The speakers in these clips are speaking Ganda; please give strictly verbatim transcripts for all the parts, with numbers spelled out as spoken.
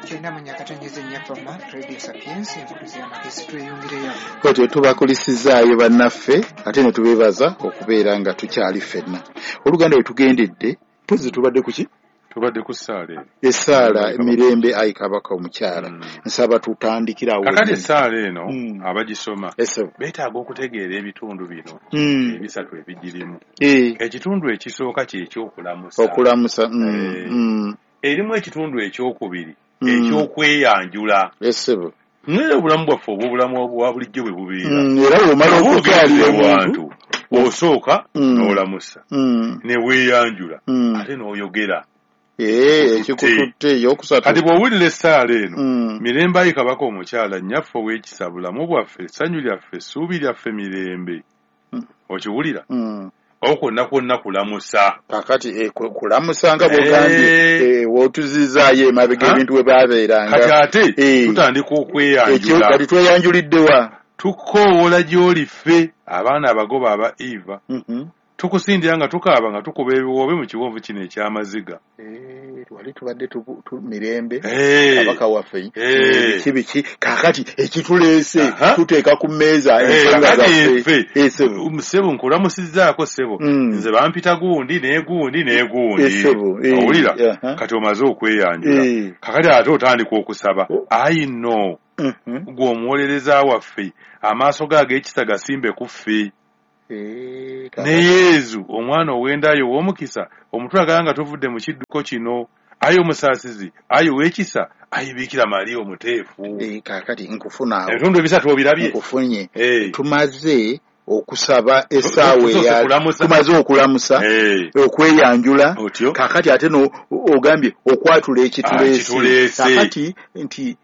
Kyenda mu nyakatonyeze nnyafama Radio Sapiens enkulizi y'amagezi tweyongereyo. Kati tubakulisizaayo bannaffe ate ne tubeebaza okubeera nga tukyali ffenna. Oluganda we tugendedde mpozi tubadde ku ki? Tubadde ku ssaala eno. Essaala Mirembe Ayi Kabaka Omukyala. Mm. Nsaba tutandikire awo. Kakati essaala eno Mm. abagisoma Ese. beetaaga okutegeera ebitundu bino Mm. ebisatu ebigirimu. Eh. Ekitundu ekisooka kye ky'okulamusa. Okulamusa. Mm. Eh. Mm. Erimu ekitundu ekyokubiri Mm. ekyokweyanjula. Esebo. Naye obulamu bwaffe obw'obulamu obwa bulijjo bwe bubeera. Mm. Era bw'omala Oba okukyalira ogenze omuntu. ewantu osooka Mm. n'olamusa Mm. ne weeyanjula Mm. ate n'oyogera. Eh, ekikututte eyokusatu. Kati bw'owulira essaala eno Mm. Mirembe Ayi Kabaka Omukyala nnyaffe ow'ekisa bulamu bwaffe essanyu lyaffe essuubi lyaffe mirembe. Mm. Okiwulira? Mm. Awo kwonna kwonna kulamusa. Kakati eh, ku- kulamusa nga bw'ogambye Eh. eh, w'otuzizaayo emabega Ha? ebintu we baabeeranga. Kati ate Eh. tutandika Ekyo okweyanjula. kati tweyanjulidde wa? Tukoowoola gy'oli ffe abaana abagoba aba Eva. Mhm. Tukusindira nga tukaaba nga tukuba ebiwoobe mu kiwonvu kino eky'amaziga. Eh, wali tubadde tubu- tu mirembe Eh. kabaka waffe Eh. biki biki kaakati ekituleese Aha. tuteeka ku mmeeza Eh, ensonga kakati zaffe. ffe Eh, ssebo. ssebo nkulamusizzaako ssebo Mm. nze bampita gundi ne gundi ne gundi Eh, ssebo, eh, owulira aha. kati omaze okweyanjula Eh. kakati ate otandika okusaba Oh. ayi nno Mhm. gwe omuwolereza waffe amaaso go ag'ekisa gasimbe ku ffe Eh, ne kaakati. Yezu omwana ow'endayo ow'omukisa omutulagala nga tuvudde mu kidduko kino ayi omusaasizi ayi ow'ekisa ayi Biikira Mariya omuteefu Eh, kaakati nkufuna awo ebitundu ebisatu obirabye nkufunye Eh. tumaze okusaba essaawa Tusoose eya kulamusa. tumaze okulamusa Eh. okweyanjula Otyo. kaakati ate no ogambye okwatula Ah, ekituleese ekituleese. kaakati nti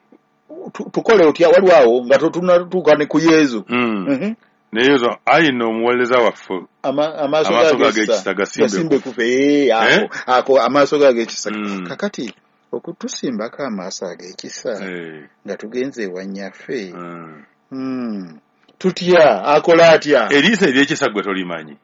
tu- tukole otya waliwo awo nga totunatuuka ne ku Yezu Mm. Mhm. Ne Yezu ayi nno omuwolereza waffe Ama- amaaso Amaaso go go ag'ekisa ag'ekisa gasimbe gasimbe kufe Eh, ako Eh? ako amaaso go ag'ekisa Mm. kakati okutusimbako amaaso ag'ekisa Eh. nga tugenze ewa nnyaffe Mm. Mm. tutya akola atya eriiso ery'ekisa gwe tolimanyi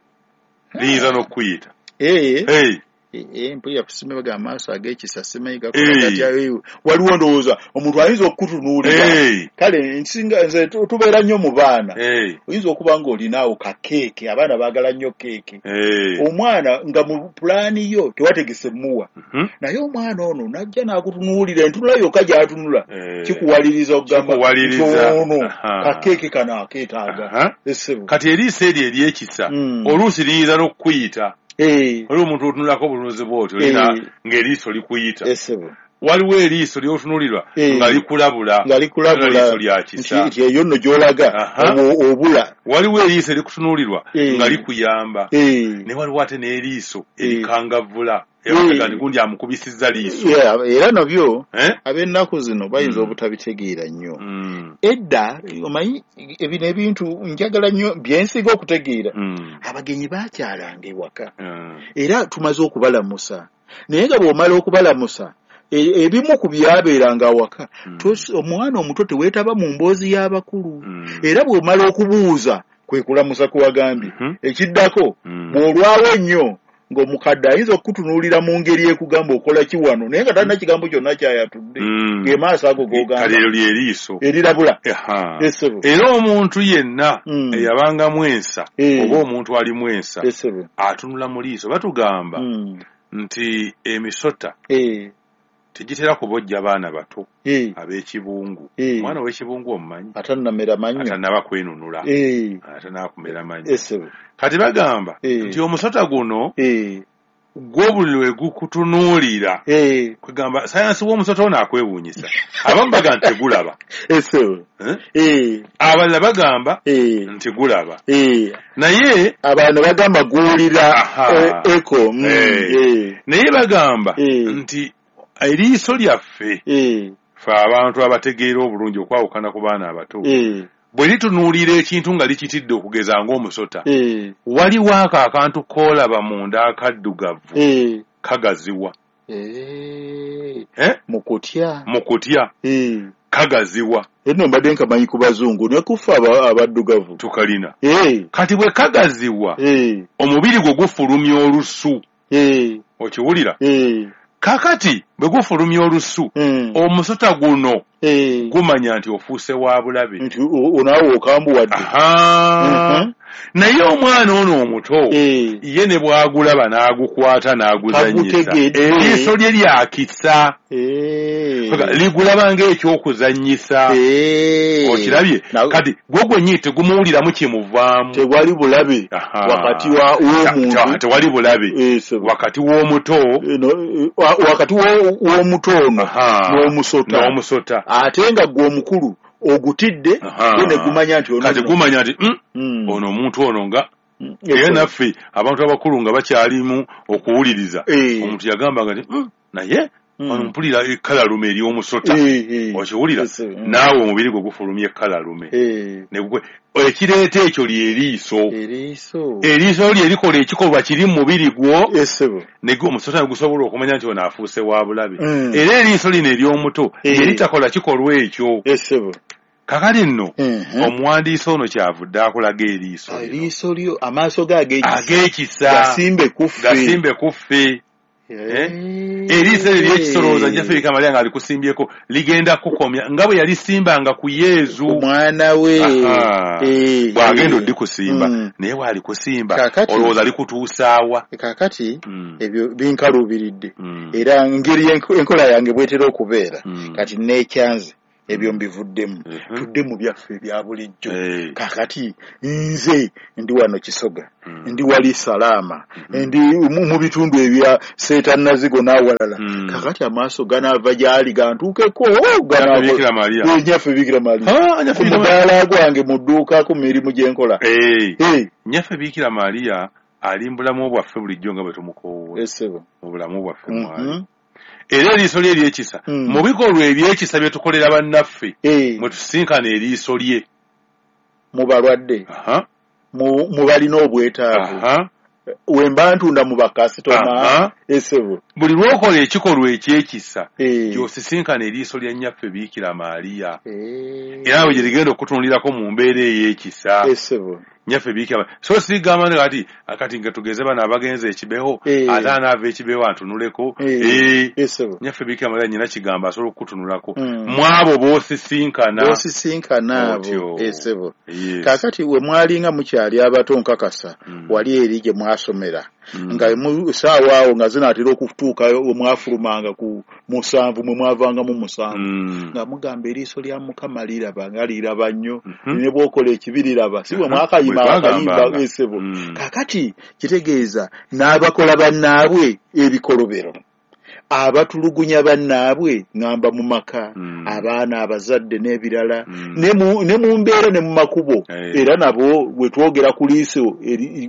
liyinza n'okukuyita Eh, Eh. eh, eh, mpulira kusimbaga amaaso ag'ekisa simanyi gakola Eh. gatya eh, waliwo ndowooza omuntu ayinza okukutunuulira Eh. kale nsinga nze tu- tubeera nnyo mu baana Eh. oyinza okuba ng'olinaawo kakeeke abaana baagala nnyo keeke Eh. omwana nga mu pulaani yo tewategese muwa Mhm. naye omwana ono najja n'akutunuulira entunula yokka gy'atunula Eh. kikuwaliriza okugamba Kikuwaliriza. nti ono Aha. kakeeke kano akeetaaga Aha. essebo kati eriiso eryo ery'ekisa Mm. oluusi liyinza n'okukuyita Eh, waliwo omuntu otunulako obulunzi bw'otyo Eh. olina ng'eriiso likuyita essebo waliwo eriiso ly'otunulirwa Eh. nga likulabula nga likulabula Eriiso lya nti kisa nti eyo nno gy'olaga Aha. obu- obula waliwo eriiso erikutunuulirwa Eh. nga likuyamba Eh. ne waliwo ate n'eriiso Eh. erikangavvula Eh. era nti gundi amukubisizza liiso Yeah, era nabyo Eh? ab'ennaku zino bayinza Mm. obutabitegeera nnyo Mm. edda omanyi ebino ebintu njagala nnyo byensinga okutegeera Mm. abagenyi baakyalanga ewaka Mm. era tumaze okubalamusa naye nga bw'omala okubalamusa e- ebimu ku byabeeranga awaka Mm. tos- omwana omuto teweetaba mu mboozi y'abakulu Mm. era bw'omala okubuuza kwe kulamusa kuwagambye Mhm. ekiddako Mm. bw'olwawo ennyo ng'omukadde ayinza okukutunuulira mu ngeri ekugamba okola ki wano naye nga talina kigambo kyonna kyayatudde Mm. ge maaso ago Kale g'ogamba eryo lyeriiso erirabula Aha. essebo era omuntu yenna Mm. eyabangamu ensa Eh. oba omuntu alimu ensa essebo atunula mu liiso batugamba Mm. nti emisota Eh, tegitera kubojja baana bato eh, ab'ekibungu Eh. omwana ow'ekibungu omumanyi atannamera mannyo atannaba kwenunula Eh, atannaba kumera mannyo essebo kati bagamba Eh. nti omusota guno Eh, gwo buli lwe gukutunuulira eh, kwegamba sayansi w'omusota ono akwewuunyisa abamu bagamba nti tegulaba essebo Eh? Eh, abalala bagamba eh, nti gulaba eh. naye abantu bagamba guwulira Aha. eh, eko mm, Eh. eh, naye bagamba Eh. nti eriiso lyaffe eh, fe abantu abategeera obulungi okwawukana ku baana abato eh, bwe litunuulira ekintu nga likitidde okugeza ng'omusota eh, waliwo ako akantu k'olaba munda akaddugavu eh, kagaziwa eh. Eh? mu kutya mu kutya Eh. kagaziwa eno mbadde nkamanyi ku bazungu ne kufa aba- abaddugavu tukalina Eh, kati bwe kagaziwa eh, omubiri gwo gufulumya olusu eh, okiwulira eh, kakati Bwe gufulumya olusu, Mm. omusota guno Eh. gumanya nti ofuuse wa bulabe. Nti onaawe okambuwadde. Aha. Mhm. Naye omwana ono omuto Eh. ye ne bw'agulaba n'agukwata n'aguzannyisa, Tagutegedde. eriiso lye lyakisa. Eh. Ligulaba ng'ekyokuzannyisa. Eh. Okirabye? Na- Kati gwo gwennyini tegumuwuliramu kimuvaamu. Tewali bulabe Aha. wakati wa w'omuntu. Ta- tewali bulabe Eh, sebo. wakati w'omuto Eh, no, eh, wa- wakati wo- w'omuto ono Aha. n'omusota. n'omusota. Ate nga gwe omukulu ogutidde, Aha. gwe ne gumanya nti ono Kati nno. gumanya nti mm, Mm. ono omuntu ono nga Mm. era naffe abantu abakulu nga bakyalimu okuwuliriza, Eh. omuntu yagambanga nti mm, naye Mm. ono mpulira ekkalalume ery'omusota. Eh, eh. Okiwulira? Yes, mm. Naawe omubiri gwe gufulumya ekkalalume. Eh. Ne gwe- ekireeta ekyo ly'eriiso. Eriiso. Eriiso lye likola ekikolwa kiri mu mubiri gwo, Eh, sebo. ne gu- omusota ne gusobola okumanya nti ono afuuse wa bulabe. Mm. Era eriiso lino ery'omuto Eh. lye litakola kikolwa ekyo. Eh, sebo. Kakati nno Mhm. omuwandiisi ono kyavudde akulaga eriiso lino. Eriiso lyo, amaaso ge ag'ekisa. Ag'ekisa. Gasimbe ku ffe. Gasimbe ku ffe. Eh. Eriiso eryo ery'ekisolo Nnyaffe Bikira Mariya ng'alikusimbyeko ligenda kukomya nga bwe yalisimbanga ku Yezu. Omwana we. Aha. Eh, Bw'agenda eh. oddikusimba, Mm. naye bw'alikusimba Kaakati- olowooza likutuusaawa? Kaakati Mm. ebyo binkaluubiridde. Mm. Era ngeri enko- enkola yange bwetera okubeera. Mm. Kati neekyanze ebyo mbivuddemu. Mhm. Tudde mu byaffe ebya bulijjo. Eh. Kaakati nze ndi wano Kisoga, Mm. ndi wali Salaama, ndi mu mu bitundu ebya Seetannazigo n'awalala. Mm. Kaakati amaaso ganaava gy'ali gantuukeko, Nnyaffe Bikira Mariya. Eh, Nnyaffe Bikira Mariya. Ah, Nnyaffe Ku Bikira Mariya. mudaala gwange mu dduuka ku mirimu gye nkola. Eh. Eh, Nnyaffe Bikira Mariya ali mu bulamu bwaffe bulijjo nga bwe tumukoowoola. Esebo. Mu bulamu bwaffe mwali. Mhm. Era eriiso lye ery'ekisa, Mm. mu bikolwa eby'ekisa bye tukolera bannaffe, Eh, mwe tusinkana eriiso lye. mu balwadde, Aha. mu mu balina obwetaavu. Aha. We mba ntunda mu bakasitoma. Aha. Esebo. Buli lw'okola ekikolwa eky'ekisa, Eh. gy'osisinkana eriiso lya Nnyaffe Bikira Mariya. Eh. Era bwe gye ligenda okutunulirako mu mbeera ey'ekisa. Esebo. Nnyaffe Bikira Mariya. So sigamba nti kati kati nga tugeze bano abagenze ekibeho, Eh. ate anaava ekibeho antunuleko. Eh. Eh. Esebo. Nnyaffe Bikira Mariya nnyina kigambo asobola okukutunulako. Mm. Mu abo b'osisinkana. B'osisinkana abo. Otyo. Esebo. Yes. Kaakati we mwalinga mukyali abato nkakasa, Mm. wali eri gye mwasomera. Mm. Nga mu ssaawa awo nga zinaatera okutuuka we mwafulumanga ku musanvu, mwe mwavangamu musanvu. Mm. Nga mugamba eriiso lya Mukama liraba nga liraba nnyo. Mhm. Ne bw'okola ekibi liraba. Si bwe Mhm. mwakayima Bwe akayimba twagambanga. esebo. Mm. Kaakati kitegeeza n'abakola bannaabwe ebikolobero. Abatulugunya bannaabwe ŋŋamba mu maka, Mm. abaana, abazadde n'ebirala, Mm. ne mu ne mu mbeera ne mu makubo. Eh. Era nabo bwe twogera ku liiso eri-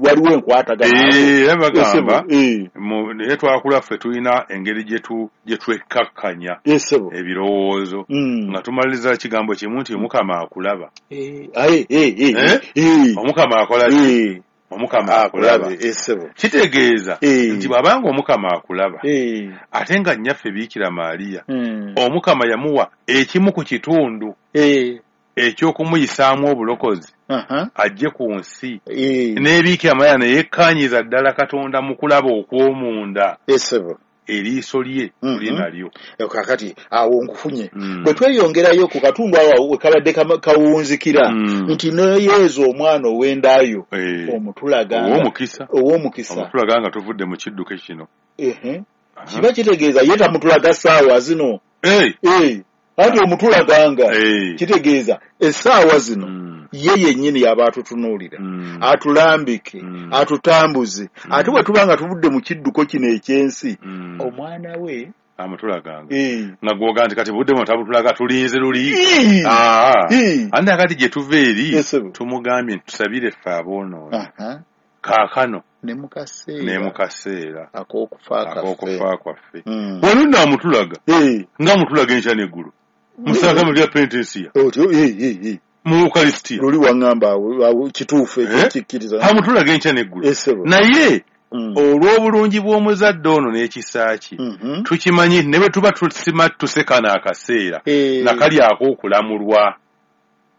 waliwo enkwatagana. Eh, era bagamba Esebo, eh, mu- naye twakula ffe tulina engeri gye tu- gye twekkakkanya esebo. ebirowoozo Mm. nga tumaliriza kigambo kimu nti Omukama akulaba. Eh, aye, eh, eh, Eh? eh, Omukama akola ki? eh, Omukama akulaba. akulabe, esebo. Kitegeeza Eh. nti bw'abanga Omukama akulaba, Eh, ate nga Nnyaffe Bikira Mariya, mm. Omukama yamuwa ekimu ku kitundu Eh, eky'okumuyisaamu obulokozi aha, ajje ku nsi. eh, N'ebiikira Mariya ne yekkaanyiza ddala Katonda mu kulaba okw'omunda. Esebo. Eriiso lye Mhm. tuli nalyo. Eh, Kaakati awo nkufunye. Mm. Bwe tweyongerayo ku katundu awo we kabadde kama- kawunzikira Mm. nti ne Yezu omwana ow'endaayo Eh. omutulaga Ow'omukisa. ow'omukisa. Omutulaga nga tuvudde mu kidduke kino. Ehe. Aha. Kiba kitegeeza ye tamutulaga ssaawa zino. Eh. Eh, anti omutulaganga Eh. kitegeeza essaawa zino Mm. ye yennyini y'aba atutunuulira. Mm. Atulambike, Mm. atutambuze. Ate bwe tuba nga tuvudde mu kidduko kino eky'ensi, Mm. omwana we Amutulaganga. eh, Nga gwoga nti kati budde buno tabutulaga tulinze luli. Eh. Ah. Eh. Ate kati gye tuva eri Yes, sir. tumugambye nti tusabire ffe aboonoonyi. Aha. Kaakano Ne mu kaseera ne mu kaseera ak'okufa kaffe. ak'okufa kwaffe. Mm. Wano nno amutulaga Eh. nga amutulaga enkya n'eggulo. Musanga mu lya penitensiya Otyo, eh, eh, eh. mu Ukarisitiya. Luli waŋŋamba awo, awo kituufu ekyo Eh? kikkiriza. Amutulaga enkya n'eggulo. Eh, ssebo. Naye Mm. olw'obulungi bw'omuzadde ono n'ekisa kye Mhm. tukimanyi ne bwe tuba tusima tusekana akaseera Eh. nakali ak'okulamulwa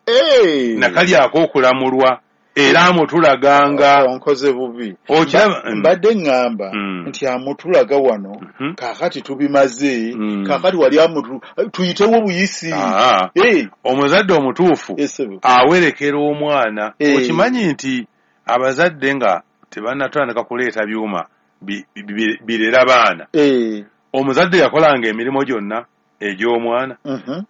Eh. nakali ak'okulamulwa Era amutulaganga. Onkoze bubi. Okiraba? Mbadde ŋŋamba Mm. nti amutulaga wano, Mhm. kaakati tubimaze, Mm. kaakati wali amutu tuyitewo buyisi. Aa, Eh, omuzadde omutuufu esebo. awerekera omwana. Eh. Okimanyi nti abazadde nga tebannatandika kuleeta byuma bi- bi- birera baana, Eh, omuzadde yakolanga emirimu gyonna egy'omwana. mhm.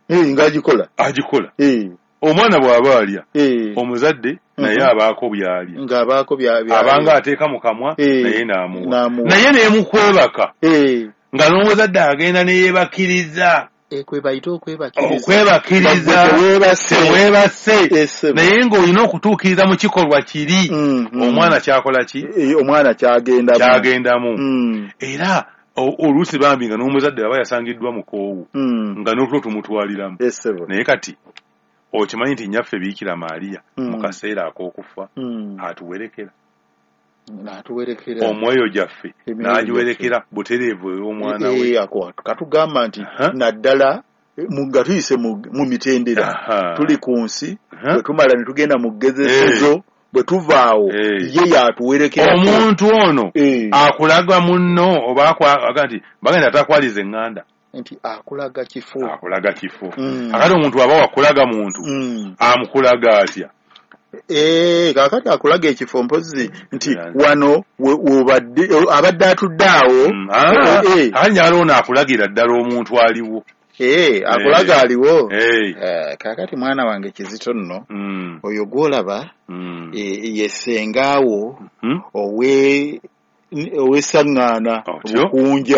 Eh, ng'agikola. Agikola. Eh, Omwana bw'aba alya, eh, omuzadde naye Mhm. abaako by'alya, ng'abaako bya- bya- abanga ateeka mu kamwa, Eh, naye n'amuwa, n'amuwa. Naye nemukwebaka Eh, nga n'omuzadde agenda neyeebakiriza. Eh, kwe bayita okwebakiriza. Okwebakiriza. Nga gwe teweebase. Teweebase. Esebo. Naye ng'olina okutuukiriza mu kikolwa kiri Mhm. omwana kyakola ki, Eh, omwana kyagendamu. Kyagendamu. Mm, Era o- oluusi bambi nga n'omuzadde aba yasangiddwa mukoowu, mm. nga n'otulo tumutwaliramu. Esebo. Naye kati okimanyi nti nnyaffe Biikira Maaliya Mm. mu kaseera ak'okufa Mm. atuwerekera N'atuwerekera. Omwoyo gyaffe Emyoyo n'agiwerekera butereevu ey'omwana we. Eh, ako katugamba nti Aha. naddala eh, mu- nga tuyise mu mu mitendera, Aha. tuli ku nsi, Aha. bwe tumala ne tugenda mu ggezesezo, bwe tuvaawo, Eh. ye yatuwerekera. Omuntu ono Eh, akulaga munno oba akwa- aga nti bagenda takwaliza eŋŋanda. Nti akulaga kifo. Akulaga kifo. Mm. Akati omuntu aba wakulaga muntu, Mm. amukulaga atya? Eh, kaakati akulaga ekifo mpozi nti Yeah. wano we- wobadde, abadde atudde awo. Mm, ah, Eh, eh, akati njagala ono akulagira ddala omuntu aliwo. eh, akulaga Eh. aliwo. Eh, Eh, kaakati mwana wange Kizito nno, mm, oyo gw'olaba, mm, eh, ye ssengaawo mm. owe ow'essaŋŋaana Otyo. Bukunja.